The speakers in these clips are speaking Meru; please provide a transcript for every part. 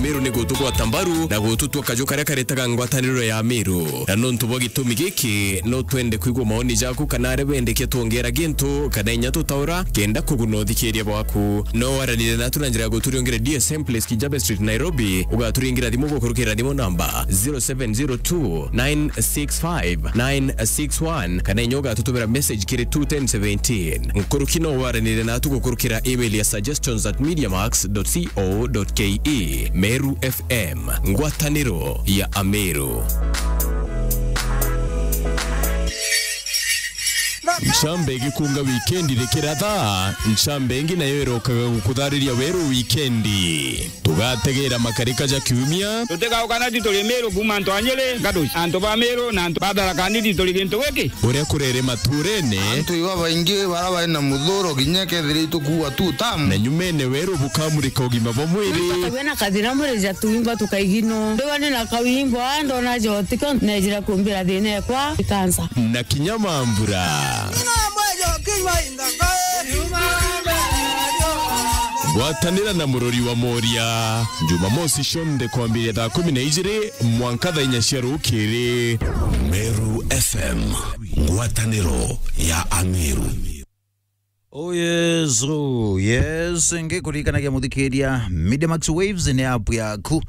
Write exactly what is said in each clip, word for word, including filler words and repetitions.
Meru ni gutugwata mbaru na gututua kaju karia karetaga ngwataniro ya Meru. Na nontu bwa gitumi giki, no twende kwigua maoni jaku kana aria bendekia twongera gintu kana inya tutaura, kenda kuguna uthikiria bwaku. No waranire natu na njira ya guturiongera D S M Place, Kijabe Street, Nairobi. Ugaturingira thimu gukurukira thimu namba zero seven zero two nine six five nine six one, kana inya ugatutumira message kiri two ten seventeen. Nkuruki no waranire natu gukurukira email ya suggestions at mediamax dot co dot ke. Meru F M, ngwataniro ya Ameru. Ncambe igikunga wikendi rikiratha, ncambe ingi nayo irokaga gukuthariria weru wikendi. Tugategera makarika ja kiumia. Tutigauka na tituri Meru kuuma antu a Nyeri, Gaduci, antu ba Meru na antu ba Tharaka Nithi turi gintu giki. Uria kurere maturene. Antu iba baingi bara bari na muthuro kinya kethira itukuua tu tamu. Na nyumene weru bukamurika ugima bwa mwiri. Wina kathina mwiri ja tuimba tukaigino. Ndiwa ni na kawimbo, ndona jotiko, nejira kumbira thina ekwa, ikansa. Na kinya mambura. Gwatanira na murori wa Moria, Jumamosi cionthe kwambiria thaa kumi na ijiri mwanka thaa inya cia rukiri. Meru F M, ngwataniro ya Ameru. Oh yes, oh yes, ngikurikanagia muthikiria, Media Max Waves ni app yaku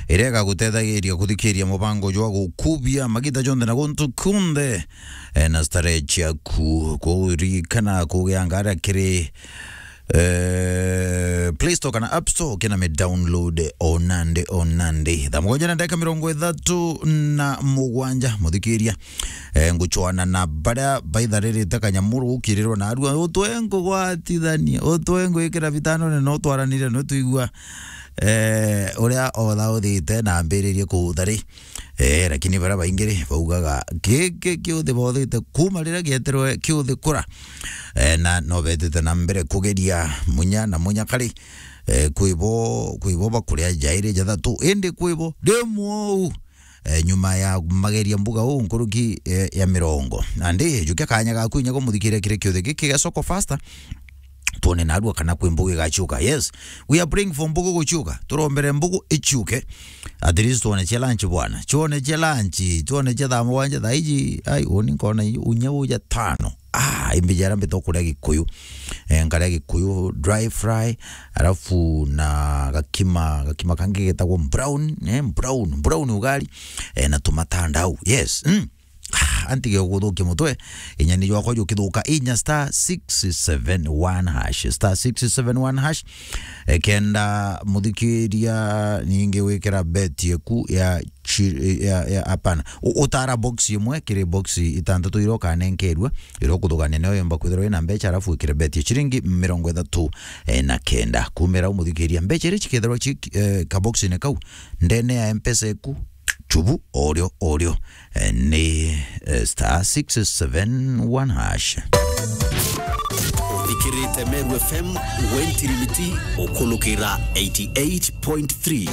iria igagutethagiria kuthikiria mubango jwa gukubia magita jonthe na guntu kunthe, eh, na starehe ciaku. Kuririkana kugia ngara kiri, eh, Play Store kana App Store, kina mi download o nandi o nandi. Thaa mugwanja na ndagika mirongo ithatu na mugwanja, muthikiria. Eh, ngucwana na baria baitharirite kanyamuru gukirirwa narua, utwe nkugwatithania, utwe ngwikira bitanone, no twaranire, no twigua, eh, uria otha uthite na ambiririe kuthari. Eh, lakini baria baingi ri, baugaga, giki kiuthi bothite kuma riria gietirwe kiuthi kura. Eh, na no betite na mbere kugeria munya na munya kari, eh, kwibo, kwibo bakuria jairi jathatu, indi kwibo rimwe uu, eh, nyuma ya mageria mbuga uu nkuruki, eh, ya mirongo. Nandi, jukia kanya gaku inya gumuthikiria kiri kiuthi giki gia Soko Faster, twone narua kana kwi mbugu igaciuka. Yes, we are praying for mbugu guciuka. Turombere mbugu iciuke. At least twone cia lunch bwana. Twone cia lunch, twone cia thaa mugwanja thaa iji. Ai, uni nkona i-, unya uja tano. Ah, imbijara mbito kuria Gikuyu. Eh, nkaria Gikuyu dry fry, alafu na gakima, gakima kangi getagwo brown, eh, brown, brown ugali, eh, na tumatandau. Yes. Mm. Ah, antige guthukia mutwe, inya ni jwakwa jukithuka, inya star six seven one hash, star six seven one hash. Eh, kenda muthikiria ningi wikira bet yeku ya chi-, ya, ya, hapana. U-, utara box imwe kiri box itantatu iria ukanenkerua, iria ukuthugania nayo yomba kwithirwa ina mbecha, alafu wikire bet ya chiringi mirongo ithatu na kenda. Kumira umuthikiria mbecha iria chikethirwa chi, eh, kaboxine kau, ndene ya Mpesa eku, chubu, orio, orio, eh, ni, eh, star six seven one hash. Uthikirite Meru F M, Gwen Tirimiti, ukulukira eighty eight point three.